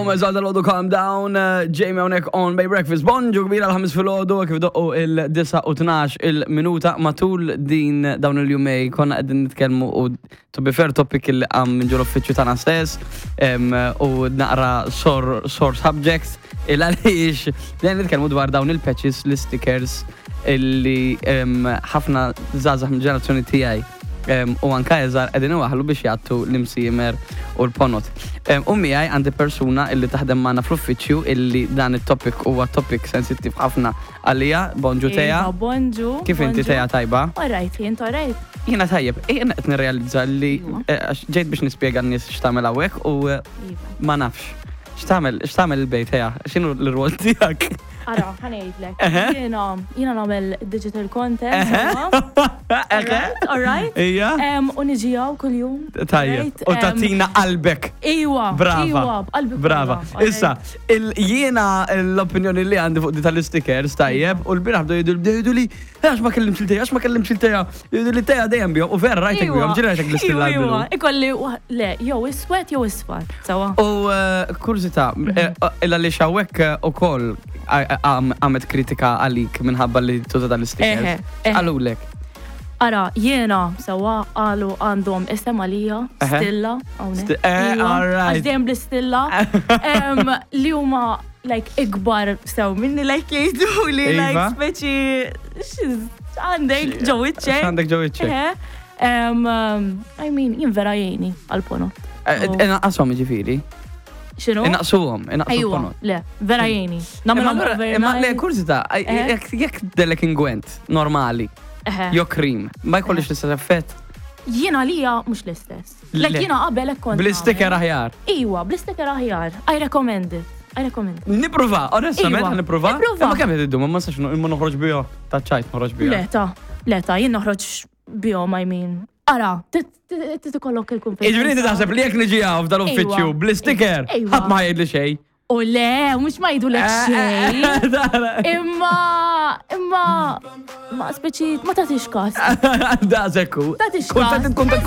Gomez għal dal Calm Down, eh, Jamie hawnhekk on Bay Breakfast. Bonġu kbira l-ħamis filgħodu kif doqqu il-9 u 12 il-minuta matul din dawn il-jumej konna qegħdin nitkellmu u to be fair topic li qam minn ġol uffiċċju tagħna stess u naqra sore sore subjects il għaliex dejjem nitkellmu dwar dawn il-patches, l-stickers illi ħafna żgħażagħ mill-ġenerazzjoni tiegħi u anka eżar qegħdin iwaħlu biex jgħattu l-imsiemer u l-ponot. U miegħi għandi persuna illi taħdem magħna fl-uffiċċju illi dan it-topic huwa topic sensittiv ħafna għalija. Bonġu Teja. Iva, bonġu. Kif inti Teja tajba? Alright, jien alright. Jiena tajjeb, jiena qed nirrealizza li iva. eh, għax ġejt biex nispjega n-nies x'tagħmel hawnhekk u eh, iva. ma nafx. X'tagħmel x'tagħmel il-bejt Teja? X'inhu l-rwol tiegħek? Ara, ħa ngħidlek. Jiena jiena nagħmel digital content. Alright, alright. Ija. U niġi hawn kuljum. Tajjeb. U tatina qalbek. Iwa. Brava. Iwa, b'qalbi. Brava. Issa, jiena l-opinjoni li għandi fuq di tal-stickers tajjeb u l-bieraħ bdew jgħidu li għax ma kellimx il-teja, għax ma kellimx il-teja. Jgħidu li teja dejjem bihom u vera rajtek bihom, ġieli rajtek bl-istilla l-blu. Ikolli, le, jew iswed jew isfar, sawa. U eh, kurżità, eh, illa li xawek eh, ukoll għamet kritika għalik minħabba li tuża dal-stickers. Għalulek. Ara, jiena sawa għalu għandhom isem għalija, stilla, għax dejjem bl-istilla, li huma like ikbar sew minni like jgħidu li like iva. speċi għandek ġo wiċċek. Għandek ġo wiċċek. Um, I mean, jien vera jgħini għal-ponot. Eh, eh, Inqashom ġifieri. Xinu? Inaqsuhom, inaqsu ponot. Le, vera jgħini. Imma le, kurzita, eh? jekk delek ingwent normali, jo krim, ma jkollix l-istess effett. Jiena lija mhux l-istess. Lek jiena qabel hekk kont. Bl-isticker aħjar. Iwa, bl-isticker aħjar. I recommend it. I recommend it. Nipprova, onestament ħa nipprova. Imma kemm qed iddum, ma nistax imma noħroġ biha ta' ċajt noħroġ biha. Le ta, le ta, jien noħroġ bihom I mean. Ara, tikollok il-kumpensa. Jiġifieri inti taħseb li jekk niġi hawn f'dan l-uffiċċju bl-isticker, ħadd ma jgħidli xejn. U le, mux ma jidu lek xej. Imma, imma, ma speċi, ma tatix kas. Da, zekku. Tatix kas. Kontent, kontent,